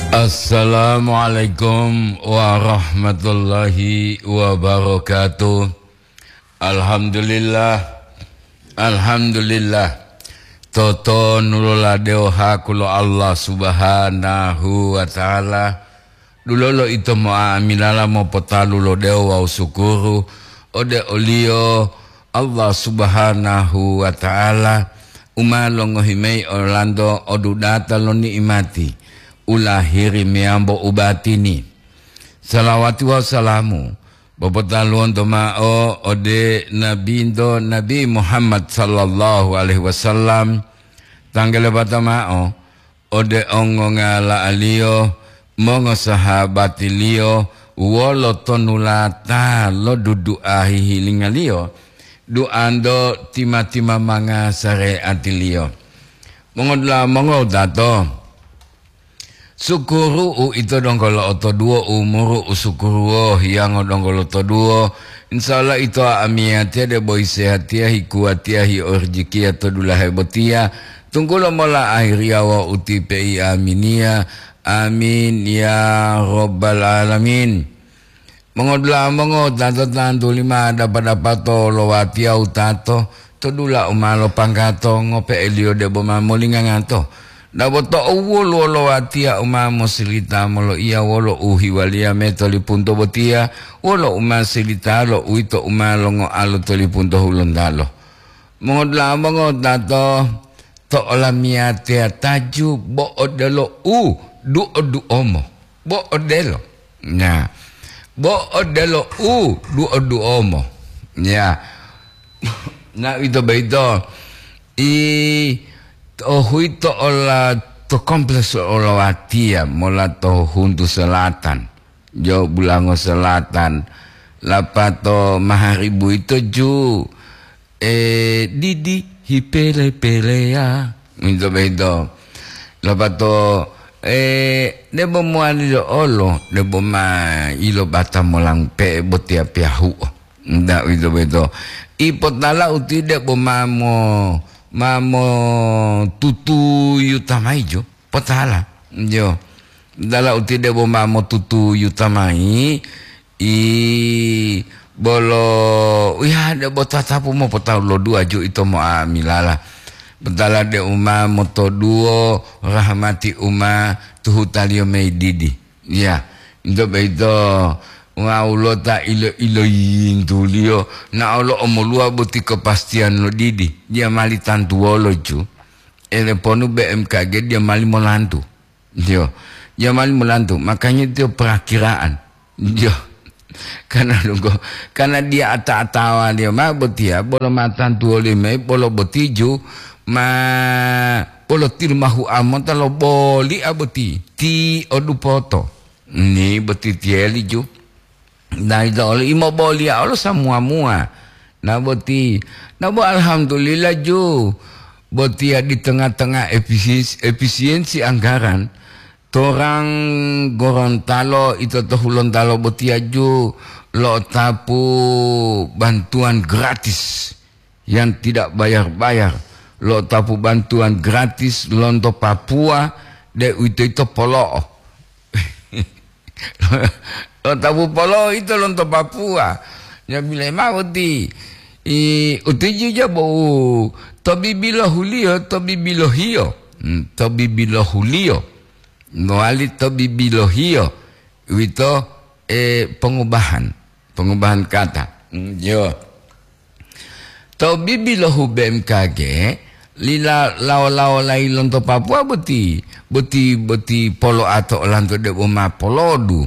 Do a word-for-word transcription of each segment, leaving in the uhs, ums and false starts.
Assalamualaikum warahmatullahi wabarakatuh. Alhamdulillah. Alhamdulillah. Totonulola dewo haku lo Allah Subhanahu wa Ta'ala. Dulolo ito mo'amilala mopotalu lo dewo wawu sukuru ode oliyo Allah Subhanahu wa Ta'ala u ma longohi mayi olanto odudata lo ni'imati u lahiri meyambo u batini. Salawati wawu salamu popotaluwonto ma'o ode Nabinto Nabi Muhammad sallallahu alaihi wasallam, tanggalebata ma'o ode ongongala'aliyo, mongosahabatiliyo, wolo tonulata lo dudu'a hihilingaliyo, duanto tima-tima manga sareatiliyo. Mongodula mongodato, sukuru u ito donggo lo'otoduwo umuru u sukuruwo hiyango donggo lotoduwo. Insya Allah ito amiyatiya debo hisehatiya, hikuwatiya, hiorijikiya to dulahe botiya, tunggulo mola ahiriya wawu u ti pei aminiya. Amin ya rabbal alamin. Mongodula'a mongotato tantuli ma dapa-dapato lo watiya wutato to dula u ma lopanggato ngope'eliyo debo ma molingangato. Dabo to'u woluwo lo watiya u ma mosilita moloiya wolo u hiwaliya me to lipunto botiya, wolo u ma silitalo uwito u ma longoalo to lipunto Hulontalo. Mongodula'a mongotato, to olamiyatiya taju bo odelo u duo-duomo. Bo odelo. Nah, bo odelo u duo-duomo. Ya. Nah, ito boyito i to huito ola to kompleks olowatiya mola to huntu selatan. Jo Bulango Selatan, lapato maharibu ito ju, eh, didi hipele-peleya, minto-minto. Lapato, eh, debo mowali lo olo, debo ma ilo bata molang pe'e botiya piyahu'o. Nda uwito boyito. Ipotala uti debo ma mo, ma mo tutuyu tamaijo. Potala, jo. Dala uti debo ma motutuyu tamai, i bolo, ya, debo tatapu mopotalu lo duwa ju ito mo'amilala. Potala de uma motoduwo rahmati uma tuhutaliyo mayi didi. Ya, ito boyito wawulo ta ilo-iloyintuliyo, na olo omoluwa boti kepastiyan lo didi. Dia mali tantuwolo ju. Eleponu B M K G dia mali molantu. Iyo, dia mali molantu. Makanya itu perakiraan. Iyo. Karena dunggo, karena dia ata-atawaliyo ma botiya, bolo ma tantuwoliyo mayi, bolo boti ju, ma bolo tilumahu amota lo boli'a boti, ti odupoto. Ni boti tiyeli ju. Dai to olo imoboliya olo samuwa-muwa. Na boti, na bo alhamdulillah ju. Botiya di tengah-tengah efisiensi, efisiensi anggaran, torang Gorontalo ito to Hulontalo botiya ju lo'otapu bantuan gratis yang tidak bayar-bayar, lo'otapu bantuan gratis lonto Papua, deuwitoyito polo'o. Lo'otapu polo'o ito lonto Papua. Jabile mao ti, i, utiji jabou to bibilohuliyo, to bibilohiyo. Hmm, to bibilohuliyo. Mowali to bibilohiyo. Uwito, eh, pengubahan. Pengubahan kata. Hmm, yo. To bibilohu B M K G, lila lawo-lawolayi lonto Papua boti, boti, boti polo'a to olanto debo ma polodu.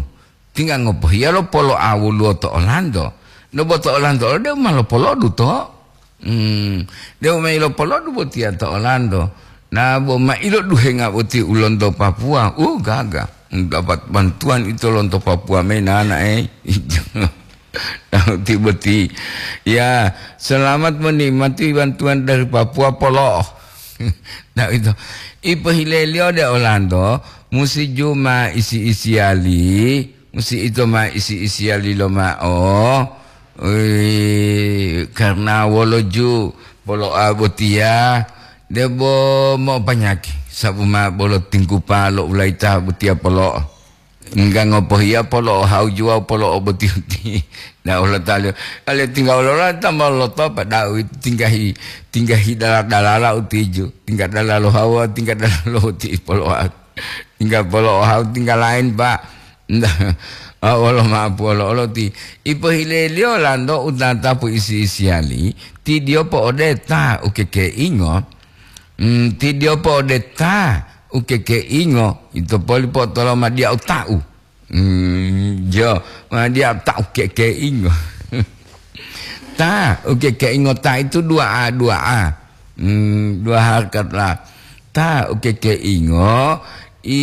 Tingga ngopohiya lo polo'a woluwo to olanto. Debo to olanto olo debo ma lopolodu to. Hmm, debo ma ilopolodu botiya to olanto. Na bo ma iloduhenga boti u lonto Papua, uh, gaga. Dapat bantuan ito lonto Papua mayi nanae. Nah, uti boti. Ya, selamat menikmati bantuan dari Papua polo'o. Nah, itu. Ipohileliyo de olanto, musi ju ma isi-isiyali, musi ito ma isi-isiyali lomao. Ui, karena wolo ju polo'a botiya, debo mo'opanyaki. Sabu ma bolo tinggupa lo ulayita botiya polo'o. Engga ngopohiya polo'o hawuju wawu polo'o boti-boti. Na Allahuta'ala, ale tingga wolola ta ma lotopa da'a uwito tinggahi, tinggahi dala-dalala utiju. Tingga dalalo hawa, tingga dalalo boti polo'o. Tingga polo'o hawu, tingga lain, Pak. Ah, wolo ma'apu olo-olo ti. Ipohileliyo lanto utatapu isi-isiyali, ti diyo po'odeta ukekeingo, mm, ti diyo po'odeta ukekeingo, ito poli po'otoloma diya uta'u. Mm, jo, ma diya uta'u kekeingo. Ta, ukekeingo ta itu dua A, dua A. Hmm, dua harkat lah. Ta, ukekeingo, i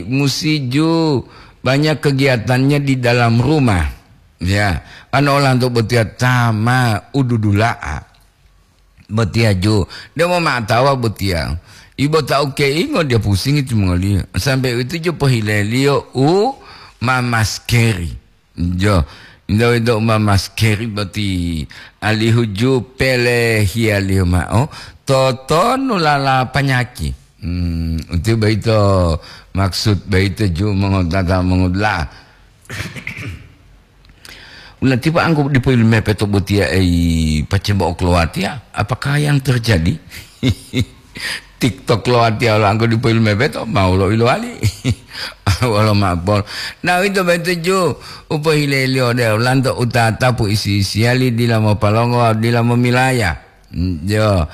musiju banyak kegiatannya di dalam rumah. Ya, ano olanto botiya ta ma ududula'a. Botiya ju, demo ma'atawa botiya. Ibo ta ukeingo dia pusing itu mongoliyo. Sampai itu ju pohileliyo u mamaskeri. Jo, ndo-, ndo uma maskeri boti alihu ju pele hiyaliyo ma'o, totonu lala panyaki. Hmm, uti boyito maksud boyito ju mongotata mongodula'a. Ulatipa anggo dipo ilumepe to botiya ei pacembo oklowatiya, apakah yang terjadi? TikTok lo watiya lo anggo dipo ilumepe to, mau lo ilowali. Wolo ma'apol. Na uwito boyito ju, u pohileliyo ode olanto utatapu isi-isiyali dila mopalongo wawu dila momilaya. Mm, jo.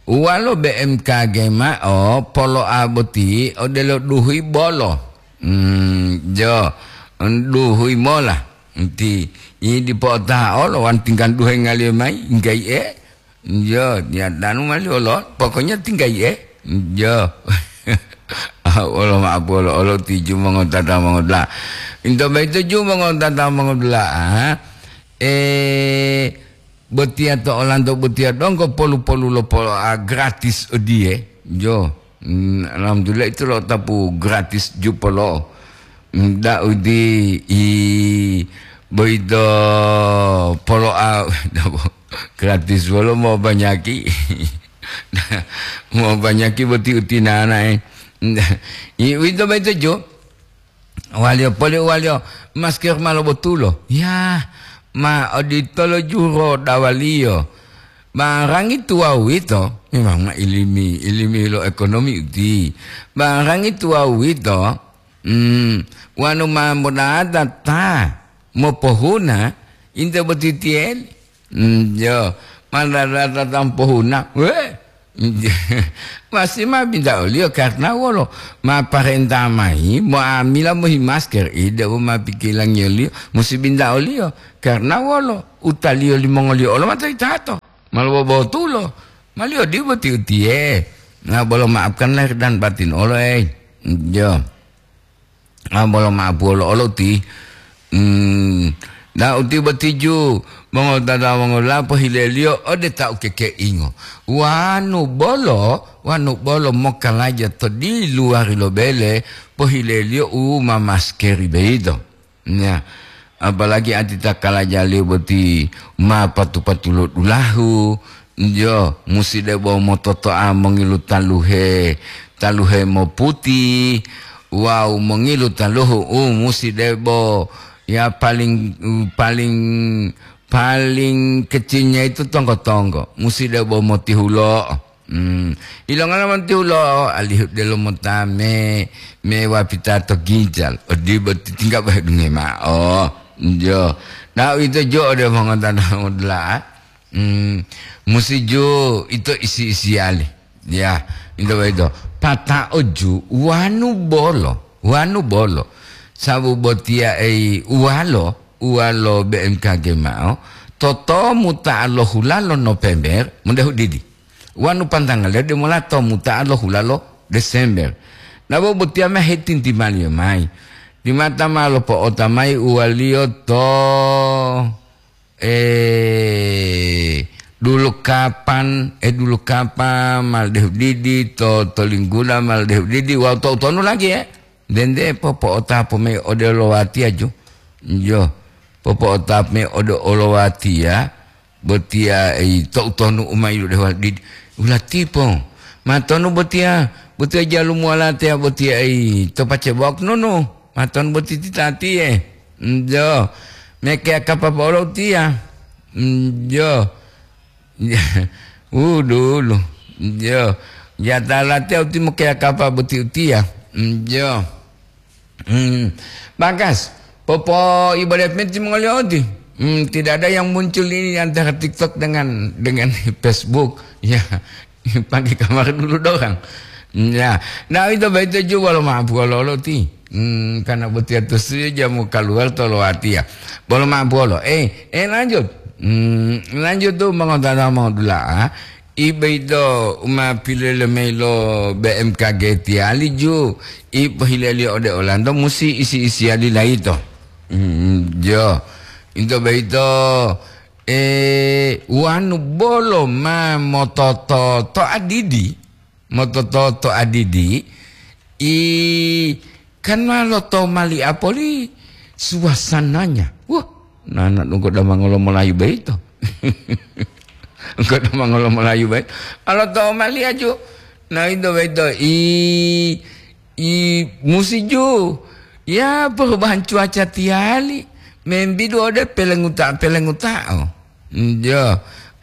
Uwalo B M K G ma'o polo'a boti odelo duhuyi bolo. Mm, jo. Duhuyi mola. Nti, i dipo otaha olo, wan tinggal duhe ngaliyo mayi, ngga'i'e. Yo, ya danu mali olo, pokoknya tinggai, eh. Yo. Ah, olo ma'apu olo, olo tiju mongotata mongodula'a. Into boyito ju mongotata mongodula'a, ah. Eh, botiya to olanto botiya donggo polu-polu lo polo'a gratis odiye. Yo. Mm, alhamdulillah itu lo tapu gratis ju polo'o. Mm, da'u di i boyito polo'a gratis wolo mobanyaki. Mobanyaki boti utinana'e. I uwito boyito jo. Waliyo poli waliyo masker ma lobotulo. Ya, ma oditolo juro dawaliyo. Barangi tuwawu wito, memang ma ilimi, ilimi lo ekonomi uti. Barangi tuwawu wito, mm, wanu ma modata ta mopohuna, inte botitiyeli. Mm, yo, ma dadata ta mopohuna, we, masi ma binta oliyo karna wolo? Ma parenta mayi mo'amila mohi masker, ide u ma pikilangiyoliyo musi binta oliyo karna wolo? Utaliyo limongoliyo olo matoyitato, ma lobobotulo, maliyo dipo ti utiye. Na bolo maafkan lahir dan batin olo, ei. Jo. Ah, bolo maapu olo-olo ti. Hmm, na uti botiju mongotata mongolapo hileliyo ode ta ukekeingo. Wanu bolo, wanu bolo mokalaja to diluwari lo bele, pohileliyo u ma maskeri boyito. Ya, apalagi ati ta kalajaliyo boti ma patu-patu lo dulahu, jo, musi debo mototo'a mongilu taluhe, taluhe moputi, wawu mongilu taluhu u musi debo, ya, paling, paling, paling kecilnya itu tonggo-tonggo, musi debo motihulo'o. Hmm. Ilongala montihulo'o, alihu delo mota me, me wapita to ginjal. Odibo titingga bohe dunge ma'o. Jo. Na uwito jo ode mongotana modula'a. Hmm. Musi ju ito isi-isiyali. Ya, ito boyito. Pata'o ju wanu bolo, wanu bolo. Sabu botiya ei uwalo, uwalo B M K G ma'o, totomu ta lo hulalo November, mudahu didi. Wanu pantangaliyo demola to muta'a lo hulalo Desember. Nabo botiya ma hetintimaliyo mayi. Timata ma lopo'ota mayi uwaliyo to, eh, dulu kapan, eh, dulu kapan, ma lodehu didi, to, to linggula ma lodehu didi, wawu to utonu lagi, eh. Dende popo'otapu mayi ode olowatiyaju. Iyo, popo'otapu mayi ode olowatiya, botiya, ei, to utonu u ma yiludehuwa didi. Ulatipo, ma tonu botiya, Botiya jalumuwala teya botiya ei to pacebok nunu. Maton boti titatiye. Njo. Mekeya kapapa olo utiya. Njo. Udulu. Njo. Yatala teya uti mokeya kapa boti utiya. Njo. Hmm. Bagas, popo ibadat meti mongoliyo oti. Hmm, tidak ada yang muncul ini antara TikTok dengan dengan Facebook. Ya, pakai kamar dulu dorang. Ya, nah itu baik itu juga lo mampu lo lo ti. Hmm, karena betul itu saja mau keluar tolo hati ya. Bolo mampu lo. Eh, eh lanjut. Hmm, lanjut tuh mau tanya mau dulu ah. Ibe ito u ma pilele mayi lo B M K G tiyali ju, i pohileliyo ode olanto musi isi-isiyali layito. Mm, jo. Into boyito, eh, wanu bolo ma motototo adidi, motototo adidi, i kan ma lotomali'a poli suasananya. Wah, nana donggo damangolo molayu boyito. Engko to mangolo Melayu bae. Alo to maliya ju. Na ito baito i, i musi ju. Ya perubahan cuaca tiyali. Membidu ode pelenguta-pelengutao. Njo.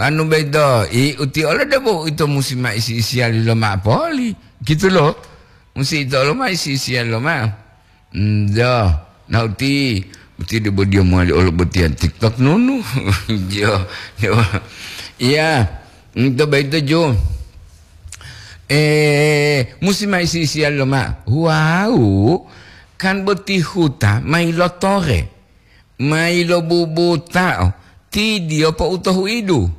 Anu baito i uti ole debo ito musi ma isi-isiyali lo ma poli. Gitu lo. Musi ito lo ma isi-isiyali lo ma. Njo, na uti, uti debo dia mowali olo botiya TikTok nunu. Jo, jo. Iya, nto baito jo. Eh, musi ma isi-isiya loma. Wau, kan boti huta mailotore, mailobubutao, ti dio po'utohuidu.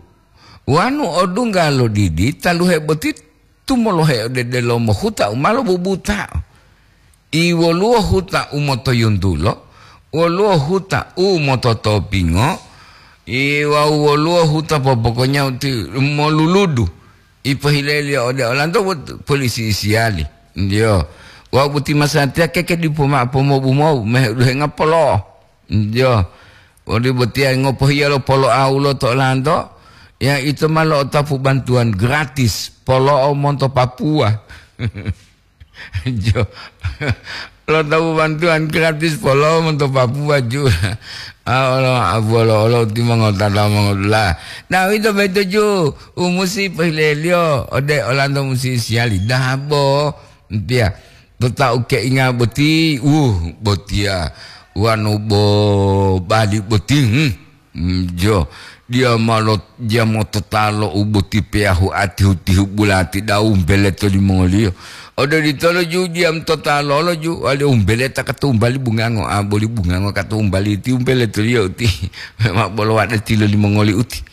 Wanu odungga lo didi taluhe boti tumolohe ode delomo huta u ma lobubutao. I woluwo huta u motoyuntulo, woluwo huta u mototopingo, i wawu woluwo huta popokonya uti moluludu. I pohileliyo ode olanto wot-, polisi isiyali. Ndiyo. Wawu boti masatiya keke dipo mao pomobu-mobu, meheduhenga polo'o. Ndiyo. Woli botiya ngopohiya lo polo'o ulo to olanto, ya ito ma lo'otapu bantuwan gratis, polo'o monto Papua. Jo. Lo tawu bantuan gratis polo monto Papua ju. Ah, olo abuolo olo timongotata mongodula. Nah, ito beto ju. Umusi pohileliyo ode olanto musi siyali dabo. Ntiya. Totau keinga boti, uh, botiya. Wanu bo bali boti, hmm. Mm, jo, dia malo, dia mototalo u boti peyahu atihu-tihu bulati dau umpele to limongoliyo. Ode ditolo ju dia mtotalolo ju, wali umpele ta katumbali bungango, a boli bungango katumbali ti umpele to liyo uti. Memang bolo wade tilo limongoli uti.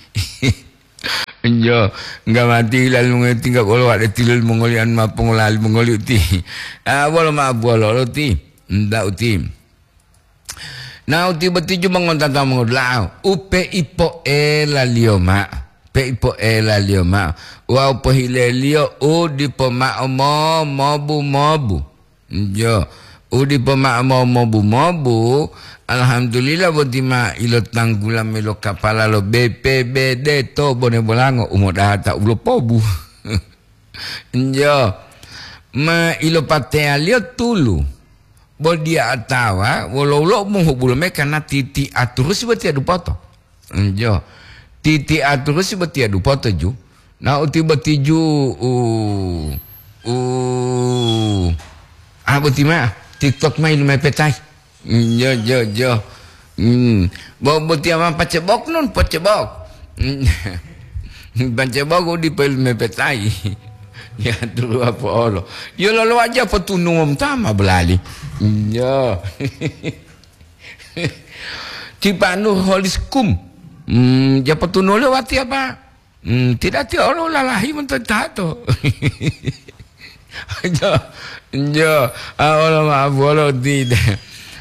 Jo, enggak mati lalu mongoli tinggal bolo wade tilo limongoli anu mapongola limongoli uti. Ah, bolo ma bolo lo ti. Nda uti. Na uti boti ju mongontata mongodula'a, u peipo'elaliyo ma'o, peipo'elaliyo ma'o, wawu pohileliyo u dipo ma'o mo-, mobu-mobu. Jo, u dipo ma'o mo-, mobu-mobu, alhamdulillah boti ma ilotanggula mayi lo kapala lo B P B D to Bone Bolango, u modata u lopobu. Jo, ma ilopateyaliyo tulu. Bo diya atawa wolo-wolo mongobulo mayi kana titi'a turusi botiya dupoto. Njo. Titi'a turusi botiya dupoto ju. Na uti boti ju u, u, ah, boti ma TikTok ma ilumepetai. Njo, jo, jo. Hmm. Bo, botiya ma pacebok nun, pacebok. Pacebok u dipo ilumepetai. Ya, turu apo olo. Yo lolo aja potunuwom tama belali. Yo. Cipanu holiskum. Hmm, ya potunuwo lewati apa? Hmm, tidak tiya olo lalahi monto tato. Jo, jo, a olo ma bolo tidak.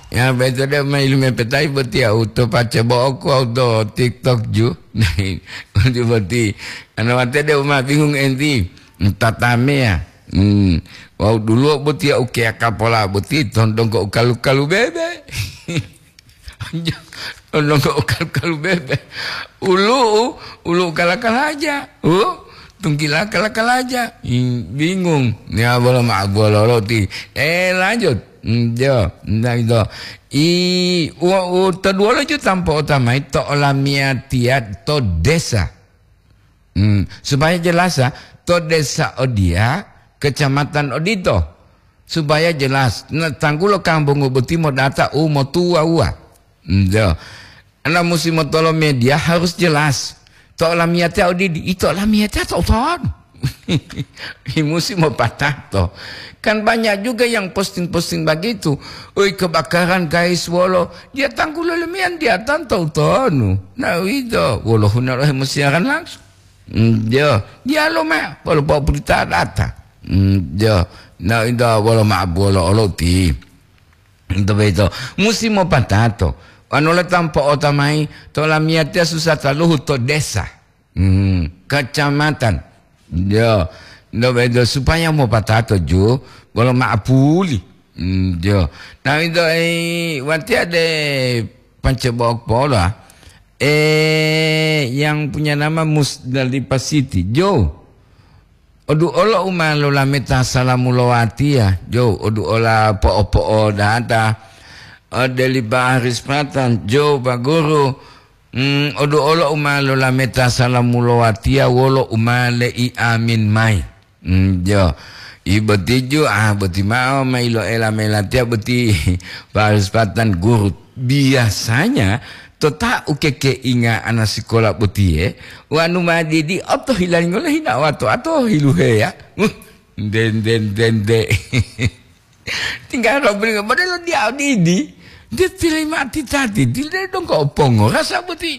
Ya, beto de ma ilume petai botiya uto pace boko uto TikTok ju. Uti boti. Ana wate de uma bingung enti. Tatameya. Hmm. Wau duluwo botiya ukeya kapola boti tondongko ukalu-kalu bebe. Tondongko ukalu-kalu bebe. Ulu'u, ulu'u kala-kalaja. U, Tunggila kala-kalaja, i, bingung. Ya, bolo ma-, bolo loti. Eh, lanjut. Hmm, jo, nah, itu. I, u, u, to duwolo ju tampo otamai to olamiyatiya to desa. Hmm, supaya jelas, ya, to desa odiya, kecamatan odito. Supaya jelas. Nah, tanggulo kambungu boti modata u motuwa-uwa. Hmm, jo. Ana musi motolo media harus jelas. To olamiyatiya odidi, ito olamiyatiya to ton. Musi mopatato. Kan banyak juga yang posting-posting begitu. Oi, kebakaran, guys, wolo. Dia tanggulo lemiyan, dia tanto utonu. Nah, itu. Wolo hunaro hemusiaran langsung. Mm, jo. Dia lo ma, wolo po berita data. Mm, jo. Nah, itu wolo ma wolo oloti. Ito boyito musi mopatato. Wanu lo tampo otamai to lamiyatiya susa taluhu to desa, hmm, kacamatan. Yo, ito boyito supaya mopatato ju bolo ma'apuli. Hmm, yo. Nah, ito, eh, watiya de pancebok pola. Eh, yang punya nama Musdalifah City. Jo. Odu'olo u ma lolameta salamu lo watiya, jo, odu'ola po'o-po'odata, ode li Baharis Patan, jo, Pak Guru, mm, odu'olo u ma lolameta salamu lo watiya wolo u ma lei'amin mayi. Mm, jo, i boti ju, ah, boti mao ma iloela melatiya boti Baharis Patan guru. Biasanya to ta ukekeinga ana sikola botiye, wanu ma didi otohilango lo hinawa to ato hiluheya. Uh, nde, nde, nde, nde. Tingga lo bringa, modelo dia didi. Dia tilai mati tadi, dia dongko opongo. Rasa boti,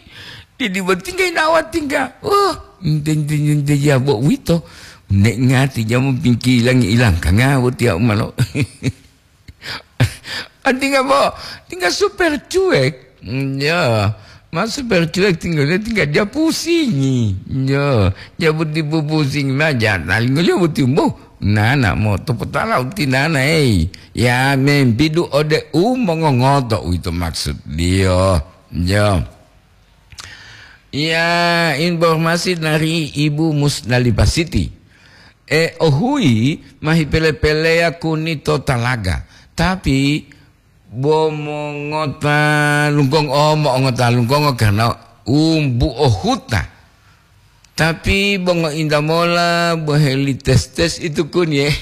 didi boti tingga hinawa tingga. Uh, nde, nde, nde, nde, ya bo wito. Nek ngati jamu pingkilangi ilang, kanga boti ya umalo. Ah, tinggal bo, tinggal super cuek. Mm, ya, ma super cuek tinggal dia, tinggal dia pusingi. Ya, dia boti pusing ma ja, talingo dia boti umbo. Nana mo to potala uti nana, ei. Ya, membidu ode u mongongoto, uwito maksud dia. Ya. Iya, informasi dari Ibu Musdalifah Siti. E, ohui ma hipele-peleya kuni to talaga, tapi bo mongota lunggongo, mo'ongota lunggongo karena umbuo huta. Tapi bo ngointa mola bo heli tes-tes itu kuni, e.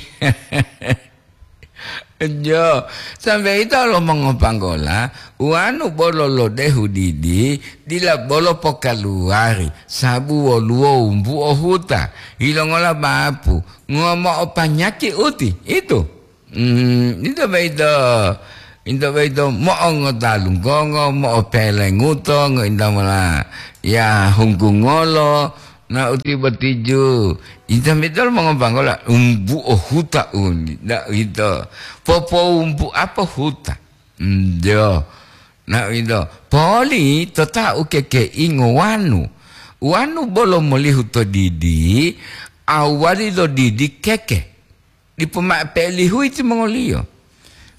Jo, sambe ito lo mongopanggola, uwanu bolo lodehu didi, dila bolo pokaluwari, sabu woluwo wumbuo huta, yilongola bapu, ngomo'o panyaki uti, itu. Mm, ito boyito, ito boyito mo'ongota lunggongo, mo'opelenguto, ngointa mola ya hunggungolo, na uti botiju. Ito mitol mongopanggola, umbuo huta uni, na ito. Popoumbu apa huta? Njo. Na ito. Poli to ta ukekeingo wanu. Wanu bolo molihu to didi, awali lo didi keke. Dipo ma'o pelihuyi timongoliyo.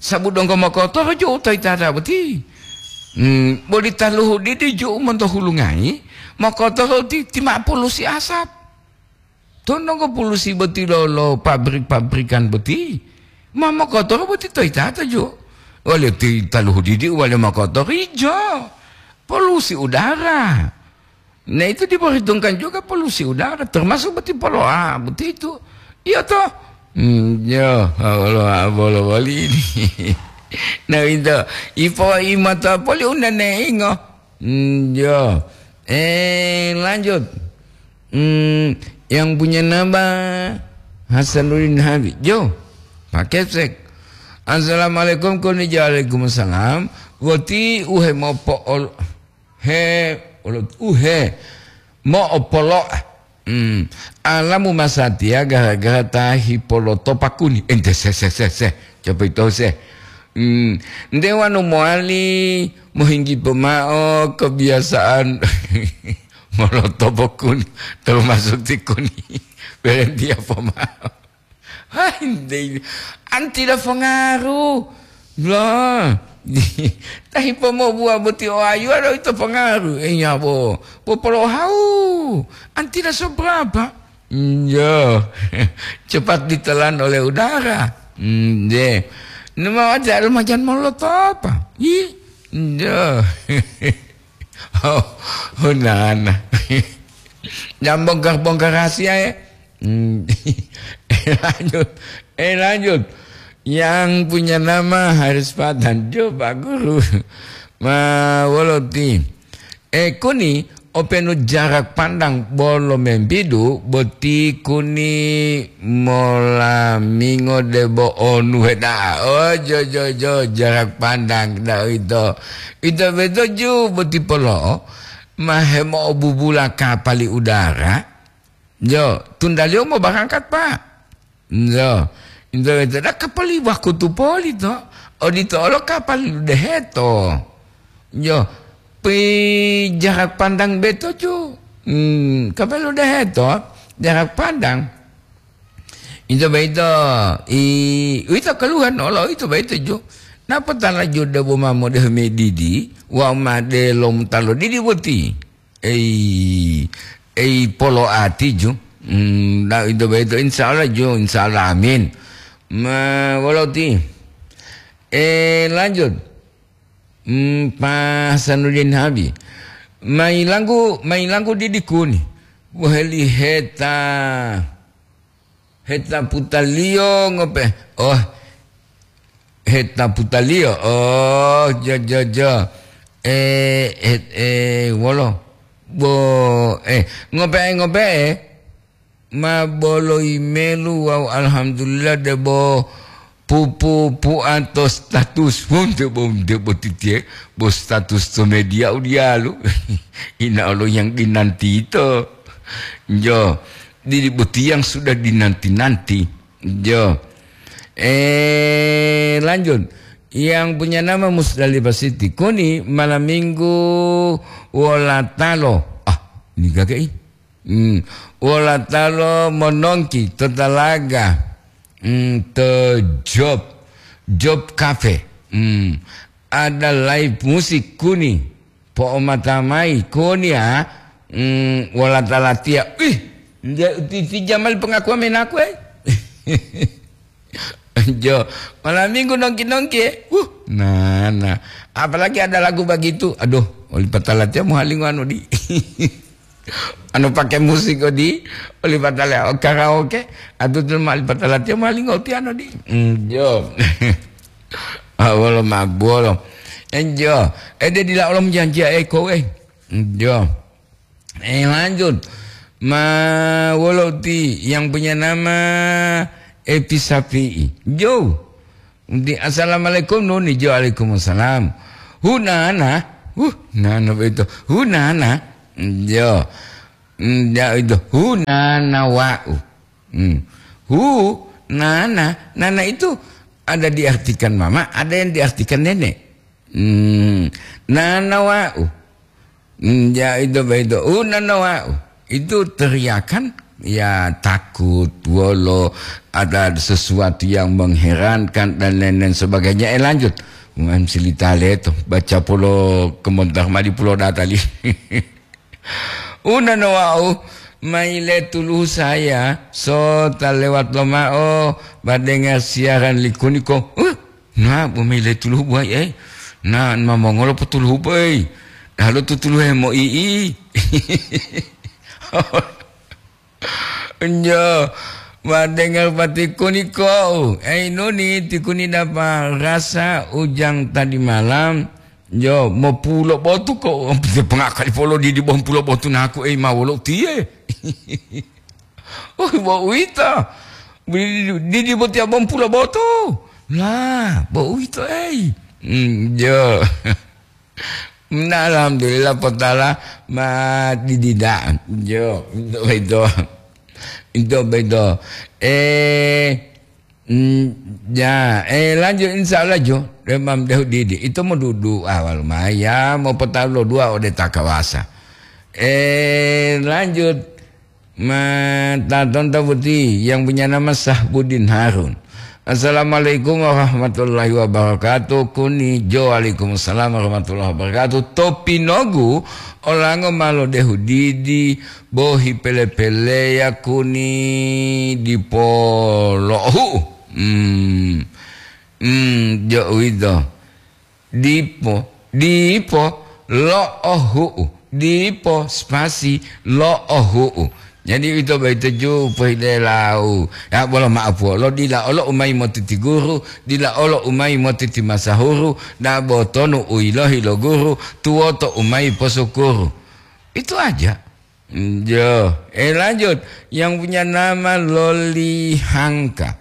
Sabu donggo mokotoro ju'u to yitata boti. Hmm, boli taluhu didi ju'u monto hulungayi, mokotoro ti, ti ma'o pulusi asap. To donggo pulusi boti lo, lo pabrik-pabrikan boti. Ma mokotoro boti to yitata ju'u. Wale ti taluhu didi wale mokotoro ijo. Polusi udara. Nah, itu diperhitungkan juga polusi udara, termasuk boti poloa, boti itu. Iya toh? Hmm, ya, Allah, Allah, Allah, ini. Nah, itu. Ipo imata poli undaneingo. Hmm, ya. Eh, lanjut. Hmm, yang punya nama Hasanuddin Habib. Jo, Pak Kepsek. Assalamualaikum, kuni waalaikumsalam. Woti uhe mopo ol-, He, olo-, uhe, mo'opolo'a. Hmm. Alamu masatiya gara-gara ta hipolotopa kuni. Ente se, se, se, se. Coba itu se. Hmm. Nde wanu mowali mohinggi pomao kebiasaan molotopo kuni, termasuk ti kuni. Berhenti apa mau? Hai, nte, anti la fangaru. Lah, tahi pomobuwa boti o ayuwa do ito fangaru. Iya bo, popolohau. Anti la sobrapa? Yo, cepat ditelan oleh udara. Nde. Numa wajar majan molotopa. Ih, yo. Oh, oh, nana. Jangan bongkar-bongkar rahasia, ya. Hmm. Eh, lanjut. Eh, lanjut. Yang punya nama Haris Patan. Coba, Guru. Ma, woloti. Eh, kuni, openu jarak pandang bolo membidu, boti kuni mola mingo debo onu heda'a. Oh, jo, jo, jo, jarak pandang, da ito. Ito beto ju boti polo, ma hemo'obubula kapali udara. Jo, tundaliyo mo barangkat, Pak. Jo, ito beto da kapali wakutu poli to. Odito olo kapali deheto. Yo, pi jarak pandang beto ju. Hmm, kapelu deheto, jarak pandang. Ito baito, i, uwito keluhan olo ito baito ju. Napa tala ju debo ma modehu medidi, wa ma delom talo didi boti. Ei, ei polo ati ju. Hmm, na ito baito insya Allah ju, insya Allah amin. Ma, woloti. Eh, lanjut. Hmm, Pak Hasanuddin Habib. Mailanggu, mailanggu didikuni. Waheli heta, heta putaliyo ngope. Oh, heta putaliyo. Oh, jo, jo, jo. Eh, het, eh, wolo. Bo, eh, ngope, ngope. Ma bolo imelu wawu alhamdulillah debo pupu pu'anto status. Wonte bo, debo titiye, bo status to media u diyalu. Ina olo yang dinanti ito. Jo, didi boti yang sudah dinanti-nanti. Jo. Eh, lanjut. Yang punya nama Musdalifah Siti. Kuni malam minggu wolatalo. Ah, ini kakek. Hmm. Wolatalo monongki to talaga. Hmm, to job. Job cafe. Hmm. Ada live musik kuni. Po'omata mayi kuni ya. Hmm, wola talatiya. Ih, nde uti, uti jamal pengakuan menaku, eh. Jo, malam minggu nongki-nongki, eh. Wuh, nah, nah. Apalagi ada lagu begitu. Aduh, oli patala tiya muhalingo anu di. Anu pakai musik odi, oli patala, oh, karaoke. Atu tu ma oli patala tiya muhalingo ti anu di. Hmm, jo. Ah, wolo ma, wolo. Enjo. Eh, dia dila olom janji, eh, kowe. Enjo. Eh, lanjut. Ma, wolo ti yang punya nama Epi Sapi'i. Jo. Di, "Assalamualaikum, Nuni." Jo, "Waalaikumsalam." "Hunana." Huh, nana begitu. "Hunana." Jo. Hmm, ya itu. "Hunana wa'u." Hmm. "Hu, nana." Nana itu ada diartikan mama, ada yang diartikan nenek. Hmm. "Nana wa'u." Hmm, ya itu begitu. "Hu, nana wa'u." Itu teriakan, ya, takut, wolo, ada sesuatu yang mengherankan dan lain-lain sebagainya. Eh, lanjut. Mem silitale to, baca polo kemontar madi pulo datali. Unan wau, maile tuluhu saya, so ta lewat lomao, badenga siaran likuniko. Uh, na, bu maile tuluhu buai, eh. Na, ma mongolo potuluhu, boy. Lalu tutuluhu mo ii. Njo, ma dengar pati kuni ko, ei nuni ti kuni dapa rasa ujang tadi malam, njo, mopulo botu ko, pengakali polo didi bompulo botu naku, ei ma wolo tiye. Oh, bo uwito. Didi, didi botiya bompulo botu. Lah, bo uwito, ei. Hmm, njo. Nah, alhamdulillah, potala ma didida. Jo, ito beto. Ito beto. Eh, mm, ya, eh, lanjut, insya Allah, jo. Demam dehu didi. Ito mo dudu awal maya, mo potalo dua ode takawasa. Eh, lanjut. Ma, tatonto boti yang punya nama Sahbudin Harun. Assalamualaikum warahmatullahi wabarakatuh. Kuni jo, waalaikumsalam warahmatullahi wabarakatuh. Topinogu olango ma lodehu didi, bohi pele-peleya kuni dipo lo'ohu'u. Hmm. Hmm, jo uwito. Dipo, dipo, lo'ohu'u, dipo spasi lo'ohu'u. Jadi uwito boyito ju pohilelau. Ya, bolo ma'apuwolo, dila olo u mayi motiti guru, dila olo u mayi motiti masahuru, dabo tonu u yilohi lo guru, tuwoto u mayi posukuru. Itu aja. Jo, eh, lanjut. Yang punya nama Loli Hangka.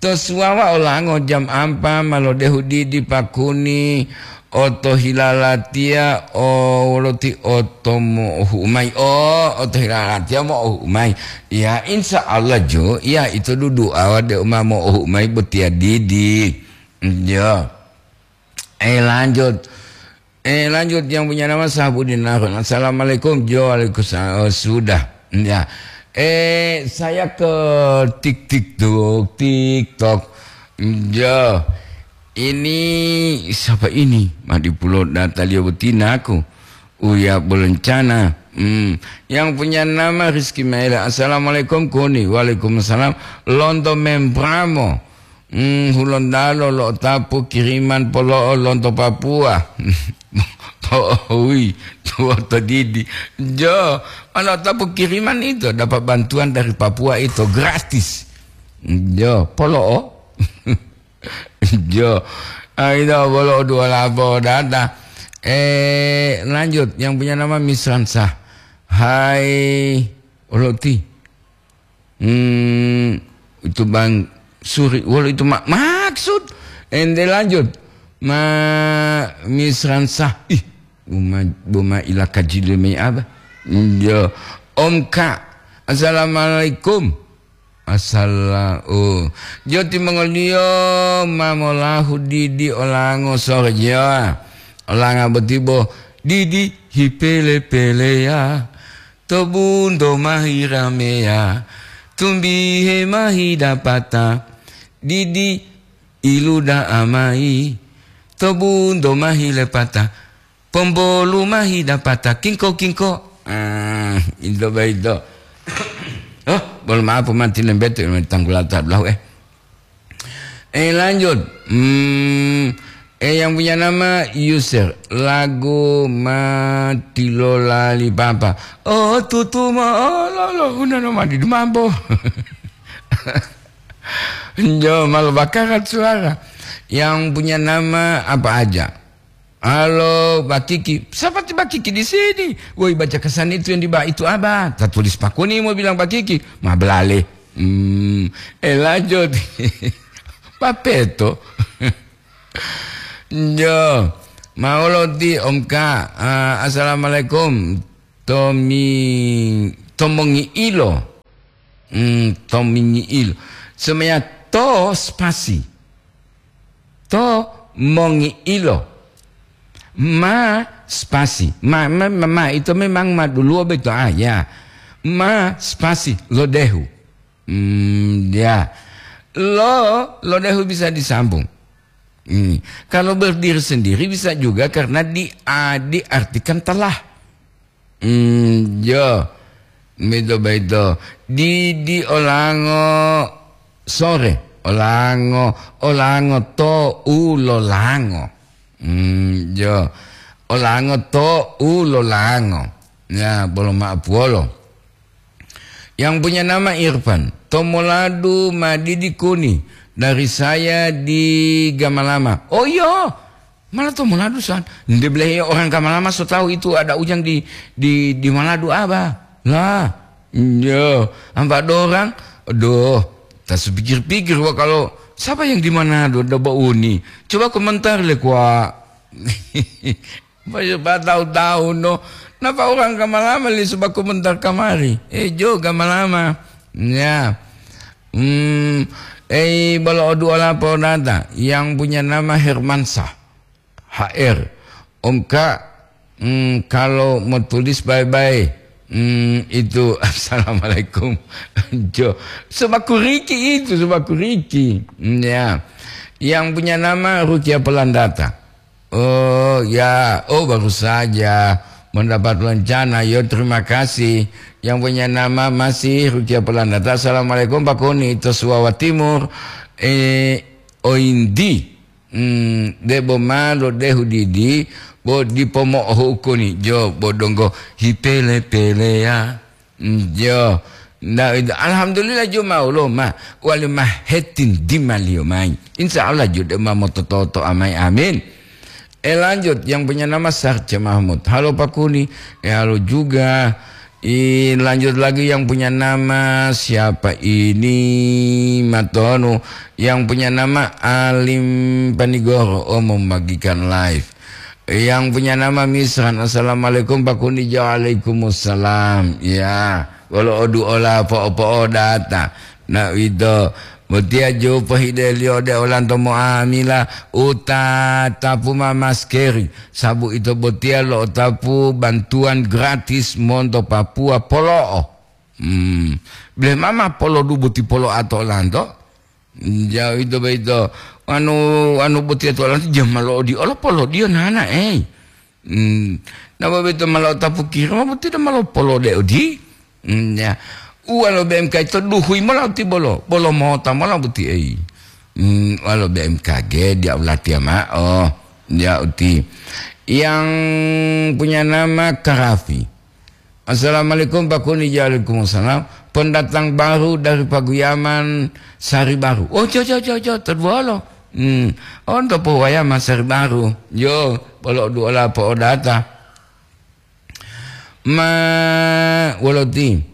To suwawa olango jam ampa ma lodehu didi pakuni, otohilalatiya o woloti oto mo'ohu'u mayi. Oh, otohilalatiya mo'ohu'u mayi. Ya, insya Allah jo, ya itu dudu awa de uma mo'ohu'u mayi botiya didi. Jo. Eh, lanjut. Eh, lanjut, yang punya nama Sahbudin Harun. Assalamualaikum. Jo, waalaikumsalam. Oh, sudah. Ya. Eh, saya ke tik tik tok, TikTok. Jo. Ini siapa ini? Madi pulo data liyo betina aku. Uya Belencana. Hmm. Yang punya nama Rizky Maela. Assalamualaikum, Kuni. Waalaikumsalam. Lonto Membramo. Hmm, Hulontalo lo'otapu kiriman polo'o lonto Papua. Po'ohui, tuwoto didi. Jo, ma lo'otapu kiriman ito, dapat bantuan dari Papua ito gratis. Jo, polo'o. Jo, ah, ito polo'o dua lapo data. Eh, lanjut, yang punya nama Misransa. Hai, Oloti. Hmm, itu Bang Suri, wolo itu ma-, maksud. Ente lanjut. Ma Misran Sah. Ih, buma, buma ila kajile me aba. Yo, Om Ka. Assalamualaikum. Assala-, oh. Jo timongoliyo ma molahu didi olango sore jo. Olanga boti bo didi hipele-peleya. To bunto ma hirameya, tumbihe ma hidapata, didi iluda'a mayi. To bunto ma hilepata, pombolu ma hidapata, kingko-kingko. Ah, ito boyito. Oh, bolo maaf, mati lembete, tanggulata belahu, eh. Eh, lanjut. Hmm, eh, yang punya nama Yusir. Lagu Mati Lolali Papa. Oh, tutu ma, oh, lo, lo, una no mati dumambo. Jo, malu bakarat suara. Yang punya nama apa aja? Halo, Bakiki. Siapa ti Bakiki di sini? Woi, baca kesan itu yang di bawah itu, Abah. Tak tulis pakuni mau bilang Bakiki. Ma belale. Hmm, eh, lanjut. Papeto. Jo. Maolo ti Om Ka. Ah, assalamualaikum. Tomi, tomongi ilo. Hmm, tomingi ilo. Semuanya to spasi. To mongi'ilo. Ma spasi. Ma, ma, ma, ma, itu memang ma duluwo beto, ah, ya. Ma spasi, lodehu. Hmm, ya. Lo, lodehu bisa disambung. Hmm. Kalau berdiri sendiri bisa juga karena di, a, diartikan telah. Hmm, jo. Mito baito. Di, di olango sore. Olango, olango to u lolango. Hmm, jo. Olango to u lolango. Ya, bolo ma'apuwolo. Yang punya nama Irfan. Tomoladu madidi kuni dari saya di Gamalama. Oh, iya. Malah to moladu san. Nde belehe orang Gamalama so tahu itu ada ujang di, di, di Maladu aba. Lah, iya, ampa dorang. Aduh, tak sepikir-pikir wa kalau siapa yang di Manado da bauni. Coba komentar le kwa. Ba tahu-tahu no. Napa orang Gamalama li sebab komentar kamari? Eh, jo Gamalama. Ya. Hmm, eh, bolo o dua lapor data yang punya nama Hermansyah. H R. Om Kak, hmm, kalau mau tulis bye-bye, Hmm, itu, assalamualaikum. Jo, sebaku Riki itu, sebaku Riki. Hmm, ya. Yang punya nama Rukia Pelandata. Oh, ya. Oh, baru saja mendapat rencana. Yo, terima kasih. Yang punya nama masih Rukia Pelandata. Assalamualaikum, Pak Kuni. Itu Suwawa Timur. Eh, Oindi. Hmm, debo ma lodehu didi, bo dipo mo'ohu'u kuni jo, bo donggo hipele-peleya. Hmm, jo. Nda, alhamdulillah jo ma wolo ma, wali ma hetin dimaliyo mayi. Insya Allah jo de ma motototo amai, amin. Eh, lanjut, yang punya nama Sarce Mahmud. Halo Pak Kuni, eh, halo juga. I, lanjut lagi yang punya nama siapa ini? Matonu. Yang punya nama Alim Panigoro. Oh, membagikan live. Yang punya nama Misran. Assalamualaikum Pak Kuni. Waalaikumsalam. Ya, wolo odu ola po'o-po'o data. Na ito. Botiya ju pohideliyo ode olanto mo'amila, uta tapu ma maskeri, sabu ito botiya lo'otapu bantuan gratis monto Papua polo'o. Hmm. Bile mama polodu boti polo'a to olanto? Jauh ito boyito. Anu, anu botiya to olanto, jama lo'odiyo olo polodiyo nana, ei. Hmm, napa boyito ma lo'otapu kiri, ma boti dama lopolode odi? Hmm, ya. Uwa lo B M K to duhui mola uti bolo, bolo mota mola boti ei. Hmm, uwa lo B M K G dia ulatiya ma'o, dia uti. Yang punya nama Karafi. Assalamualaikum, Pak Kuni. Waalaikumsalam. Pendatang baru dari Paguyaman, Sari Baru. Oh, jo, jo, jo, jo, terbuolo. Hmm. Oh, untuk Paguyaman, Sari Baru. Yo, polo duola po odata. Ma, woloti.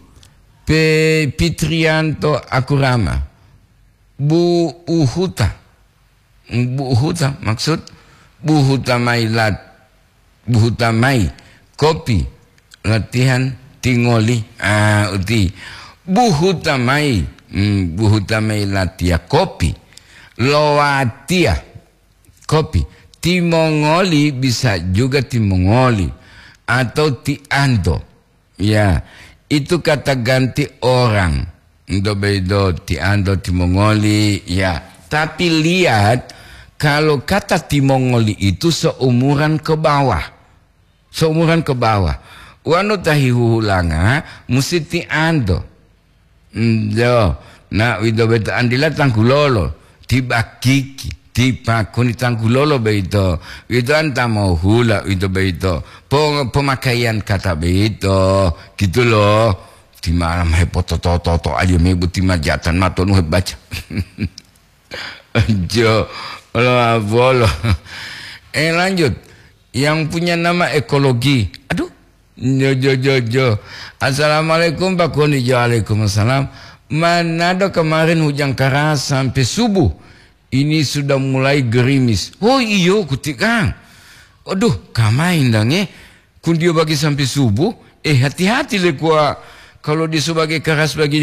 Pe Pitrianto Akurama. Bu Uhuta. Bu Uhuta, maksud Bu Huta mai lat-, Bu Huta mai kopi latihan tingoli. Ah, uti. Bu Huta mai, hmm, Bu Huta mai latiya kopi. Lowatiya kopi. Timongoli bisa juga timongoli atau tianto. Ya, itu kata ganti orang. Ento beido tianto timongoli, ya. Tapi lihat, kalau kata timongoli itu seumuran ke bawah. Seumuran ke bawah. Wanu tahi huhulanga, mesti tianto. Ndo, na uwito boyito antila tanggulolo, ti bakiki, ti pakuni tanggulolo boyito. Uwito anta mohula uwito boyito. Po-, pomakaiyan kata boyito, gitu loh. Ti malam hepototo-toto aja mebu ti majatan matonu hebaca. Jo, olo abolo. Eh, lanjut. Yang punya nama ekologi. Aduh. Jo, jo, jo, jo. Assalamualaikum, Pak Koni. Jo, waalaikumsalam. Manado kemarin hujan keras sampai subuh. Ini sudah mulai gerimis. Oh, iyo, kutikang. Aduh, kamain dong, eh. Kundio bagi sampai subuh. Eh, hati-hati le kuwa. Kalau dia sebagai keras bagi